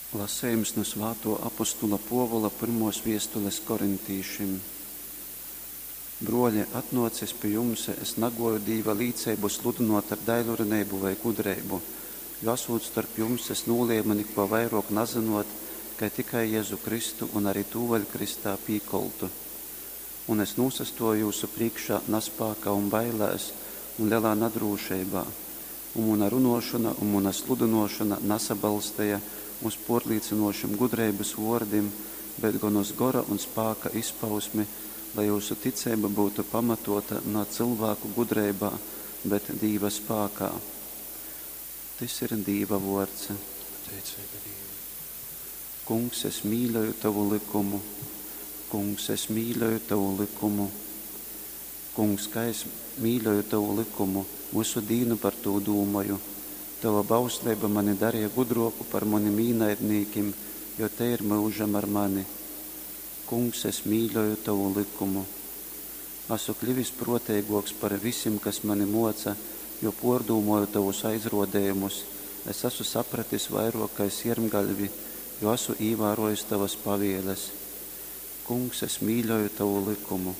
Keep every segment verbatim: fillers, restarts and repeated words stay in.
Lasejums nu svātuo apostula Puovula pyrmuos viestules korintīšim. Bruoli, atnuocis pi jums, es naguoju Dīva līceibu sludynuot ar daiļruneibu vai gudreibu, jo, asūt storp jums, es nūliemu nikuo vairuok nazynuot, kai tikai Jezu Kristu un ari tū vēļ krystā pīkoltu. Un es nūsastuoju jyusu prīškā naspākā un bailēs un lelā nadrūšeibā, un muna runuošona un muna sludynuošona nasabalsteja uz puorlīcynūšim gudreibys vuordim, bet gon uz gora un spāka izpausmi, lai jyusu ticeiba byutu pamatuota na cylvāku gudreibā, bet Dīva spākā. Tys ir Dīva vuords. Pateiceiba Dīvam. Kungs, es mīļoju tovu lykumu. Kungs, es mīļoju tovu lykumu. Kungs, kai es mīļoju tovu lykumu, vysu dīnu par tū dūmoju. Tova bausleiba mani dareja gudruoku par munim īnaidnīkim, jo tei ir myužam ar mani. Kungs, es mīļoju tovu lykumu. Asu klivis pruoteiguoks par visim, kas mani muoca, jo puordūmoju tovus aizruodejumus. Es asu sapratis vairuok kai siermgaļvi, jo asu īvāruojis tovas pavieles. Kungs, es mīļoju tovu lykumu.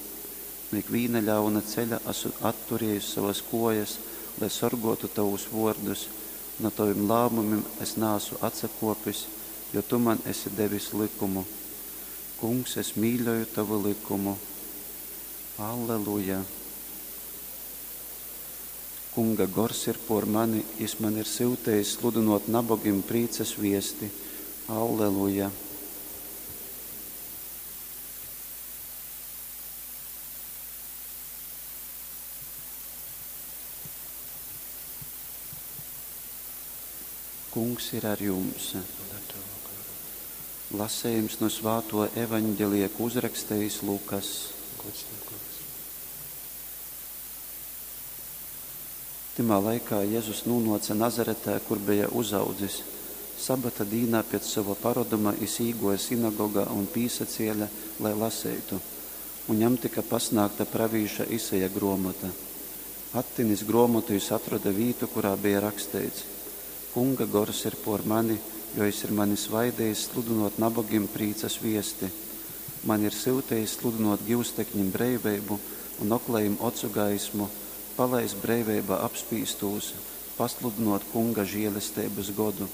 Nu ikvīna ļauna ceļa asu atturiejis sovas kuojas, lai sorguotu tovus vuordus. Nu tovim lāmumim es naasu atsakuopis, jo tu man esi devis lykumu. Kungs, es mīļoju tovu lykumu. Alleluja! Kunga gors ir puor mani, jis mani ir syutejis sludynuot nabogim prīcas viesti. Alleluja! Kungs ir ar jums. Un ar tavu garu. Lasejums nu svātuo evaņgelija, ko uzrakstejis Lukas. Gods tev, Kungs. Tymā laikā Jezus nūnuoce Nazaretē, kur beja uzaudzis. Sabata dīnā piec sova paroduma jis īguoja sinagogā un pīsaciele, lai laseitu. Un jam tyka pasnāgta pravīša Isaja gruomota. Attinis gruomotu, jis atroda vītu, kurā beja raksteits: Kunga gors ir puor mani, jo jis ir mani svaidejis sludynuot nabogim prīcas viesti. Mani ir syutejis sludynuot giustekņim breiveibu un oklajim ocu gaismu, palaist breiveibā apspīstūs, pasludynuot Kunga žielesteibys godu.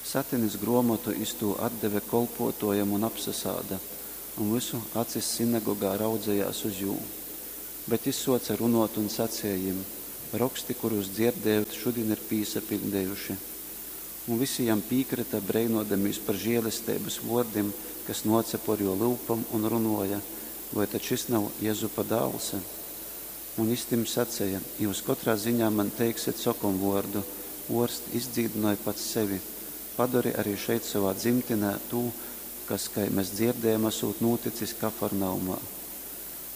Satinis gruomotu, jis tū atdeve kolpuotuojam un apsasāda, un vysu acis sinagogā raudzejās uz jū. Bet jis suoce runuot un saceja jim: Roksti, kurūs dzierdējot, šudin ir pīsapiļdejuši. Un visi jam pīkryta, breinuodamīs par žielesteibys vuordim, kas nuoce puor juo lyupom, un runuoja: Voi tad šis nav Jezupa dāls? Un jis tim saceja: Jius kotrā ziņā man teiksit sokomvuordu: Uorst, izdzīdynoj pats sevi. Padori ari šeit sovā dzimtinē tū, kas, kai mes dzierdējom, asūt nūticis Kafarnaumā.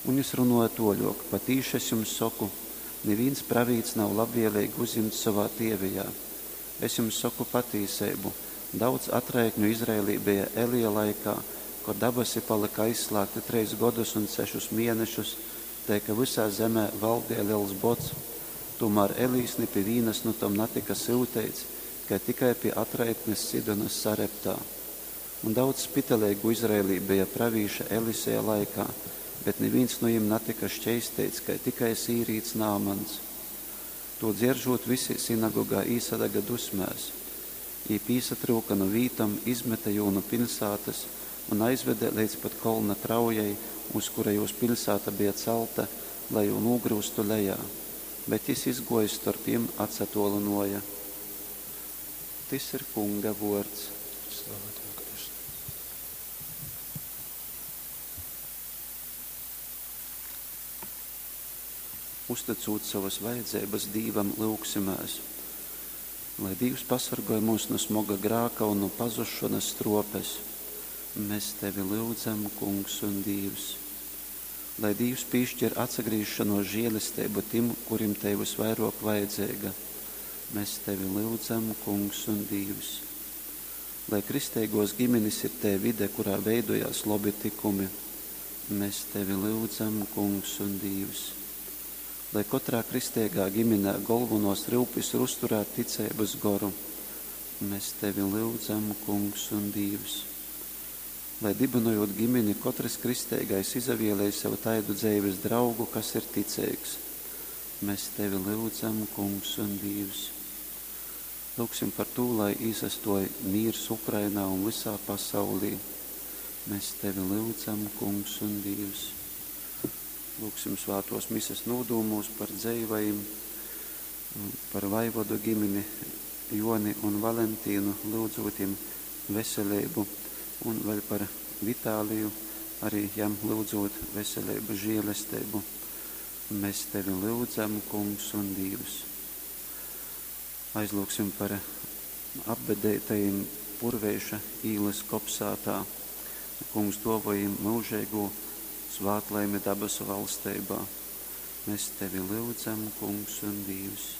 Un jis runuoja tuoļuok: Patīši es jums soku, nivīns pravīts nav labvieleigi uzjimts sovā tievijā. Es jums soku patīseibu, daudz atraitņu Izraēlī beja Elija laikā, kod dabasi palyka aizslāgti treis godus un sešus mienešus, tai ka vysā zemē valdeja lels bods. Tūmār Elijs ni pi vīnas nu tom natyka syuteits, kai tikai pi atraitnes Sidonas Sareptā. Un daudz spitaleigu Izraēlī beja pravīša Eliseja laikā, bet nivīns nu jim natyka šķeisteits, kai tikai sīrīts Nāmans. Tū dzieržūt, visi sinagogā īsadaga dusmēs. Jī pīsatryuka nu vītom, izmete jū nu piļsātys un aizvede leidz pat kolna traujai, uz kura jūs piļsāta beja calta, lai jū nūgryustu lejā. Bet jis, izguojis storp jim, atsatuolynuoja. Tys ir Kunga vuords. Slava tev, Kristu. Uztycūt sovas vajadzeibas Dīvam, lyugsimēs. Lai Dīvs pasorgoj myus nu smoga grāka un nu pazusšonas struopes. Mes Tevi lyudzam, Kungs un Dīvs. Lai Dīvs pīškir atsagrīzšonuos žielesteibu tim, kurim tei vysvairuok vajadzeiga. Mes Tevi lyudzam, Kungs un Dīvs. Lai kristeiguos giminis ir tei vide, kurā veidojās lobi tykumi. Mes Tevi lyudzam, Kungs un Dīvs. Lai kotrā kristeigā giminē golvonuos ryupis ir uzturēt ticeibys goru. Mēs tevi lyudzam, Kungs un Dīvs. Lai dibinojūt gimini, kotrys kristeigais izavielej sev taidu dzeives draugu, kas ir ticeigs. Mēs tevi lyudzam, Kungs un Dīvs. Lūgsim par tū, lai īsastoj mīrs Ukrainā un vysā pasaulī. Mēs tevi lyudzam, Kungs un Dīvs. Lūgsim svātos mises nūdūmūs par dzeivajim, par vaivodu gimini Joni un Valentīnu, lyudzūt jim veselību, un vēl par Vitāliju, arī jam lyudzūt veselību, žēlestību. Mēs tevi lyudzam, Kungs un Dīvs. Aizlūgsim par apbedeitajim Purveiša īlys kopsātā. Kungs duovoj jim myužeigū svātlaimi dabasu valsteibā. Mēs tevi lyudzam, Kungs un Dīvs.